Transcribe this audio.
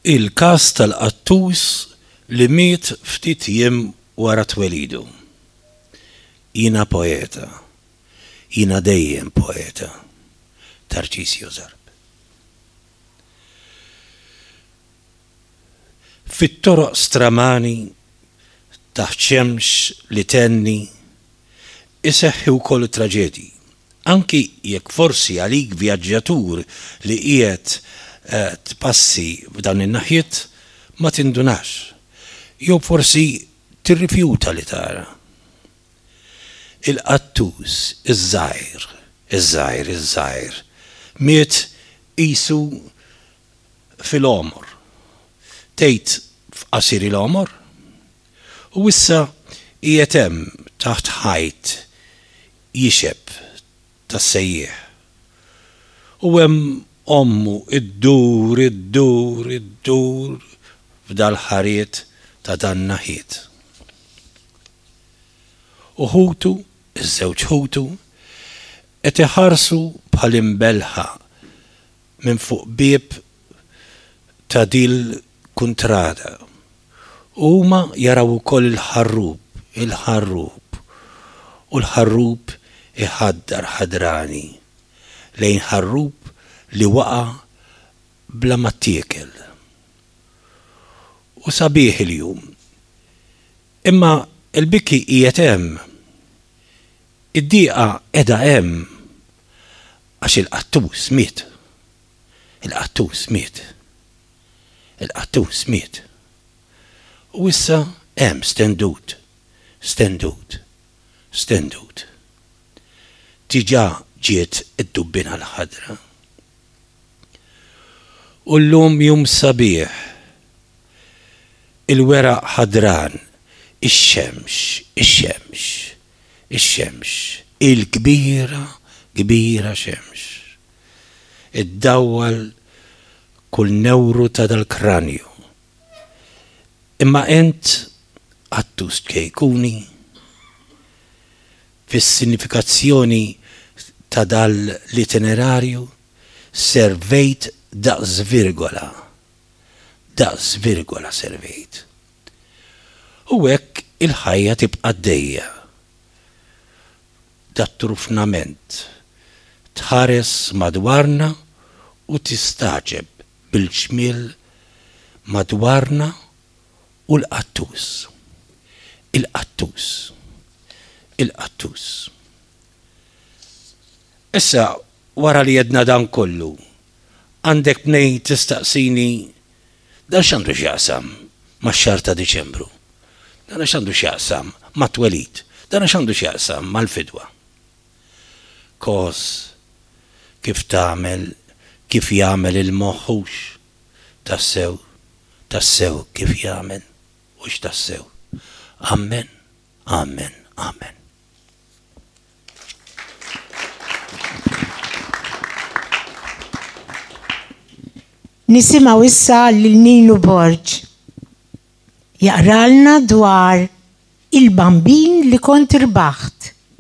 Il-każ tal-qattus li miet ftit jiem wara twelidu. Jiena poeta. Jiena dejjem poeta. Tarcisio Zarb. Fit-toroq stramani taħt xemx li thenni iseħħi wkoll it-traġedji. Anki jekk forsi għalik vjaġġatur li qiegħed tpassi f'dawn in-naħiet ma tindunax, jew forsi tirrifjuta li tara. Il-qattus iż-żgħir, iż-żgħir, iż-żgħir, miet qisu fil-għomor. Tgħid f'qasir il-għomor? U issa qiegħed hemm taħt ħajt jixeb tas-sejjieħ. U hemm ommu ddur, iddur, iddur f'dal-ħariet ta' dan-naħiet. U ħutu, iż-żewġ ħutu, qed iħarsu bħal imbellħa minn fuq bieb ta' dil-kuntrada. U huma jaraw ukoll il-ħarrub, il-ħarrub, u l-ħarrub iħaddar ħadrani lejn ħarrub li waqa' bla ma ttiekel. U sabiħ il-jum. Imma l-biki qiegħed hemm. Id-dieqa qiegħda hemm. Għax il-qattus miet. Il-qattus miet. Il-qattus miet. U issa hemm stendut, stendut, stendut. Diġà ġiet id-dubbina l-ħadra. U llum jum sabiħ. Il-weraq ħadran, ix-xemx, ix-xemx. Ix-xemx, il-kbira, kbira xemx. Iddawwal kull newru ta' dal-kranju. Imma int qattus ċkejkuni fis-sinifikazzjoni ta' dal-itinerarju servejt daqs virgola, daqs virgola servejt. U hekk il-ħajja tibqa' għaddejja. Dat-trufnament. Tħares madwarna u tistagħġeb bil-ġmiel madwarna u l-qattus. Il-qattus. Il-qattus. Issa, wara li għedna dan kollu, għandek mnejn tistaqsini Dan x'għandu x'jaqsam max-xahar ta' Diċembru? Dan x'għandu x'jaqsam mat-twelid? Dan x'għandu x'jaqsam mal-fidwa? Kos kif tagħmel kif jagħmel il-moħħ hux? Tassew, tassew kif jagħmel, hux tassew. Amen, amen, amen. Nisimgħu issa lil Ninu Borg jaqralna dwar Il-Bambin li kont irbaħt.